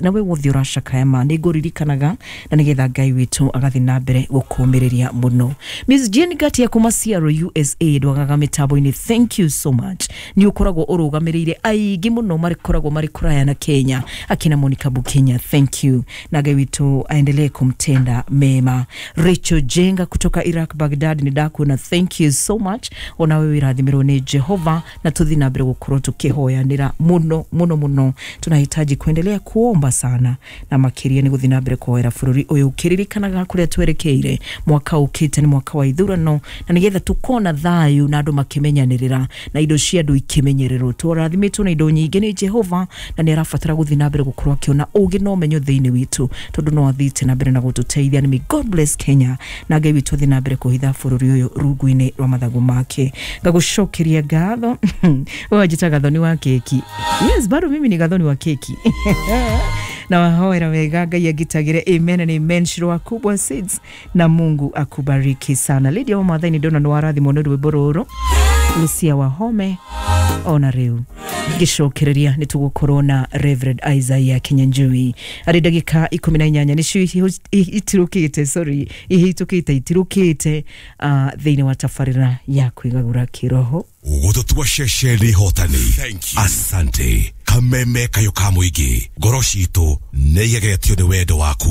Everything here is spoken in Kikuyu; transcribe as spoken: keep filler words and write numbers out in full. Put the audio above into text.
Nawe wothe ũracakaya, ma nĩ ngũririkanaga na nĩgetha Ngai witũ agathiĩ na mbere gũkũmĩrĩria mũno. Miss Jane Gatia kuma Seattle, U S A, ndwagaga mĩtambo-inĩ. Thank you so much, nĩ ũkoragwo ũrũgamĩrĩire aingĩ mũno marĩkoragwo marĩ kũraya na Kenya. Akina Monica Bukenya, thank you, na Ngai witũ aendelee kumtenda mema. Rachel Jenga kutoka Iraq, Baghdad, nĩ ndakuona, thank you so much. Onawe wĩrathimĩrwo nĩ Jehova, na tũthiĩ na mbere gũkorwo tũkĩhoyanĩra mũno mũno mũno. Tunahitaji kuendelea kuomba sana, na makĩria nĩ gũthiĩ na mbere kũhoera bũrũri ũyũ, ũkĩririkanaga kũrĩa twerekeire. Mwaka ũkĩte nĩ mwaka wa ithurano, na nĩgetha tũkona thayũ na andũ makĩmenyanĩrĩra na indo cia andũ ikĩmenyererwo. Tũrathimĩtwo na indo nyingĩ nĩ Jehova, na nĩ arabatara gũthiĩ na mbere gũkorwo akĩona ũgĩ na ũmenyo thĩinĩ witũ, tondũ no athiĩte na mbere na gũtũteithia. May God bless Kenya, na Ngai witũ athiĩ na mbere kũhitha bũrũri ũyũ rungu-inĩ rwa mathagu make. Ngagũcokeria ngatho. Wewe wanjĩta Gathoni wa keki. Yes, bado mimi ni Gathoni wa keki na wahoera wega Ngai agitagire. Amen and amen. Shiro kubwa Seeds, na Mungu akubariki sana. Lydia wa Maathai, ndona nĩ warathimwo nĩ rwĩmbo rũrũ. Lucia Wahome, ona rĩu ngĩcokereria nĩ tũgũkorwo na Reverend Isaiah Kinyanjui arĩ ndagĩka ikũmi na inyanya nĩcio itirũkĩte, sorry, ihĩtũkĩte, itirũkĩte uh, thĩinĩ wa tabarĩra ya kwĩgagũra kĩroho. Gũtũtua ceceni hotani. Asante. Kameme kayo ka mũingĩ, ngoro citũ nĩ igegetio nĩ wendo waku.